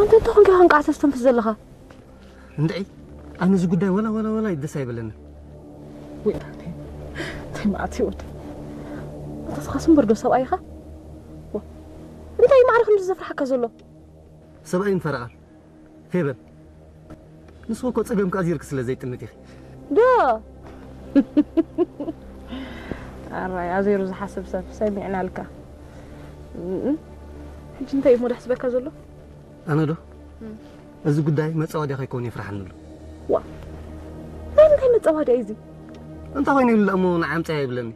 ኣንተ እንታይ ኮንካ ከንቃዕ ተስተንፍስ ዘለኻ? እንድዒ ኣነ እዚ ጉዳይ ወላ ወላ ወላ ደስ ኣይበለንን። ወይ እንታይ መዓት ይወድ ኣንተስኻ ስምበር ዶ ሰብኣይኻ? እንታይ ማዕረ ከምዚ ዘፍርሓካ ዘሎ? ሰብኣይ ምፈረቓ ፌበል ንስኹ እኮ ጸገም ከኣ ዚርክ ስለ ዘይጥምት ኢኺ። ዶ ኣራይ ኣዜሩ ዝሓስብ ሰብ ሰሚዕናልካ። ሕጂ እንታይ እሞ ደሕስበካ ዘሎ? ኣነ ዶ እዚ ጉዳይ መጻወድያ ከይከውን ይፍርሓኒ ኣሎ። ዋ ናይ እንታይ መጻወድያ እዩ እዚ? እንታይ ኮይኑ ኢሉ እሞ ንዓምጻያ ይብለኒ።